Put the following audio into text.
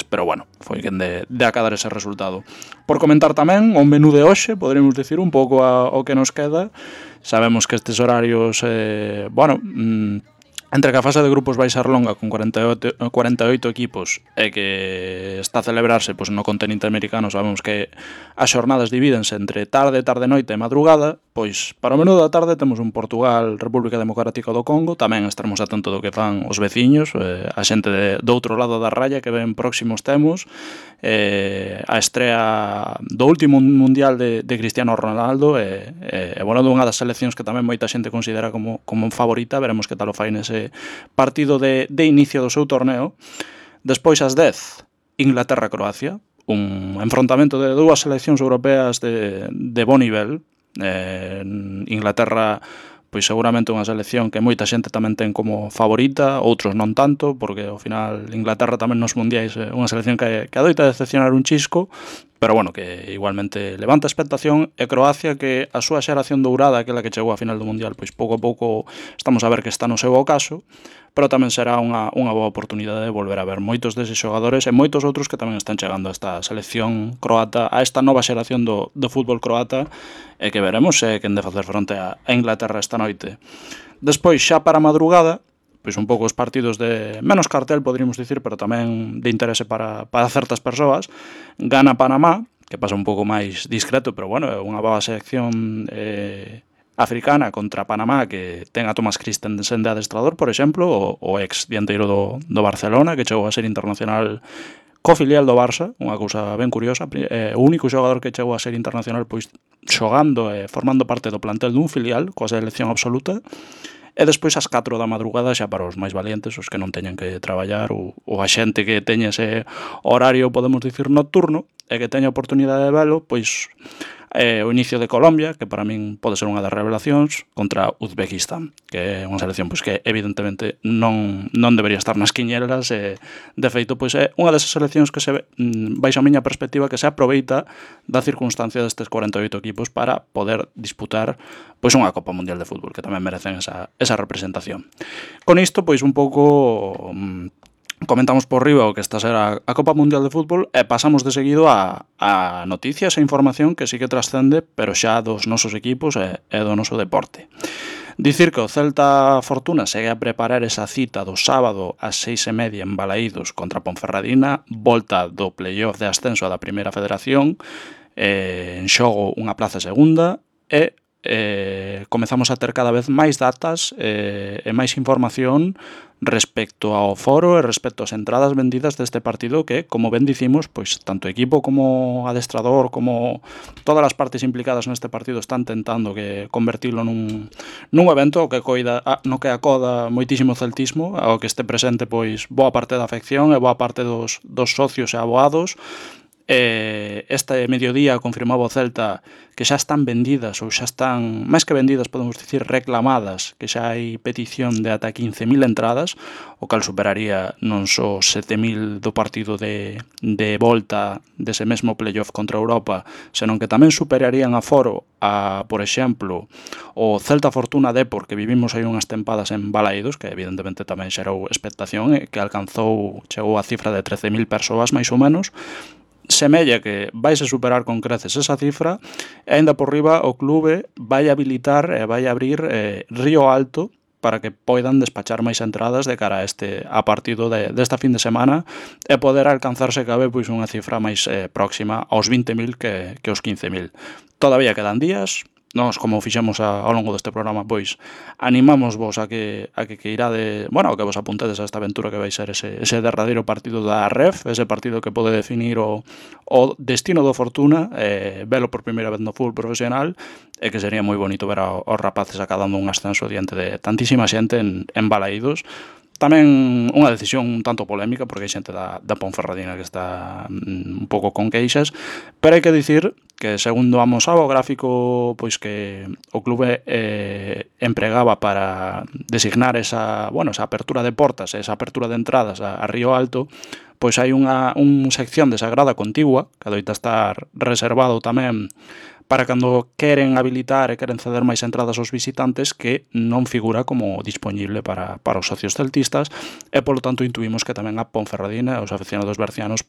pero bueno, foi quen de acadar ese resultado. Por comentar tamén o menú de hoxe, poderíamos dicir un pouco o que nos queda. Sabemos que estes horarios, entre que a fase de grupos vai ser longa con 48 equipos e que está a celebrarse no continente americano, sabemos que as xornadas divídense entre tarde, tarde-noite e madrugada. Pois para o menú da tarde temos un Portugal, República Democrática do Congo. Tamén estaremos atentos do que fan os veciños, a xente do outro lado da raya que ven próximos temos, a estrea do último mundial de Cristiano Ronaldo e dunha das seleccións que tamén moita xente considera como favorita. Veremos que tal o fai nese partido de inicio do seu torneo. Despois ás 10, Inglaterra-Croacia, un enfrontamento de dúas seleccións europeas de bo nivel. Inglaterra, pois seguramente unha selección que moita xente tamén ten como favorita, outros non tanto, porque ao final Inglaterra tamén nos mundiais é unha selección que adoita decepcionar un chisco, pero bueno, que igualmente levanta expectación. E Croacia, que a súa xeración dourada, aquela que chegou á final do mundial, pois pouco a pouco estamos a ver que está no seu ocaso, pero tamén será unha boa oportunidade de volver a ver moitos deses xogadores e moitos outros que tamén están chegando a esta selección croata, a esta nova xeración do fútbol croata, e que veremos quen de facer fronte a Inglaterra esta noite. Despois, xa para a madrugada, pois un pouco os partidos de menos cartel, poderíamos dicir, pero tamén de interese para certas persoas. Gana Panamá, que pasa un pouco máis discreto, pero bueno, é unha boa selección africana contra Panamá, que ten a Thomas Christensen de adestrador, por exemplo, o ex dianteiro do Barcelona, que chegou a ser internacional co filial do Barça, unha cousa ben curiosa. O único xogador que chegou a ser internacional pois xogando e formando parte do plantel dun filial, coa selección absoluta. E despois ás 4 da madrugada, xa para os máis valientes, os que non teñen que traballar, ou a xente que teña ese horario, podemos dicir, nocturno, e que teña oportunidade de velo, pois o inicio de Colombia, que para min pode ser unha das revelacións, contra Uzbekistán, que é unha selección pois que evidentemente non debería estar nas quiñelas, e de feito pois é unha desas seleccións que se ve, baixo a miña perspectiva, que se aproveita da circunstancia destes 48 equipos para poder disputar pois unha Copa Mundial de Fútbol, que tamén merecen esa representación. Con isto pois un pouco comentamos por riba o que está a ser a Copa Mundial de Fútbol, e pasamos de seguido a noticias e información que sí que trascende, pero xa dos nosos equipos e do noso deporte. Dicir que o Celta Fortuna segue a preparar esa cita do sábado ás 6:30 en Balaídos contra Ponferradina, volta do playoff de ascenso da Primeira Federación, en xogo unha plaza segunda, e comezamos a ter cada vez máis datas e máis información respecto ao foro e respecto ás entradas vendidas deste partido, que, como ben dicimos, pois tanto equipo como adestrador, como todas as partes implicadas neste partido están tentando que convertilo nun evento que no que acoda moitísimo celtismo, ao que este presente pois boa parte da afección e boa parte dos socios e aboados. Este mediodía confirmaba o Celta que xa están vendidas, ou xa están, máis que vendidas, podemos dicir reclamadas, que xa hai petición de ata 15.000 entradas, o cal superaría non só 7.000 do partido de volta dese mesmo playoff contra Europa, senón que tamén superarían a foro a, por exemplo, o Celta Fortuna Depor, que vivimos aí unhas tempadas en Balaídos, que evidentemente tamén xerou expectación e que chegou a cifra de 13.000 persoas máis ou menos. Semella que vaise superar con creces esa cifra, e aínda por riba o clube vai habilitar e vai abrir Río Alto para que poidan despachar máis entradas de cara a partido desta fin de semana, e poder alcanzarse cabe pois unha cifra máis próxima aos 20.000 que os 15.000. Todavía quedan días. Nós, como fixemos ao longo deste programa, pois animamos vos a que irade, a que vos apuntedes a esta aventura que vai ser ese derradeiro partido da REF, ese partido que pode definir o destino do Fortuna, velo por primeira vez no fútbol profesional, e que sería moi bonito ver aos rapaces acadando un ascenso diante de tantísima xente en Balaídos. Tamén unha decisión un tanto polémica, porque hai xente da Ponferradina que está un pouco con queixas, pero hai que dicir que, segundo amosaba o gráfico pois que o clube empregaba para designar esa apertura de portas, esa apertura de entradas a Río Alto, pois hai unha sección de Sagrada Contigua, que adoita estar reservado tamén para cando queren habilitar e queren ceder máis entradas aos visitantes, que non figura como dispoñible para os socios celtistas, e polo tanto intuímos que tamén a Ponferradina e os aficionados bercianos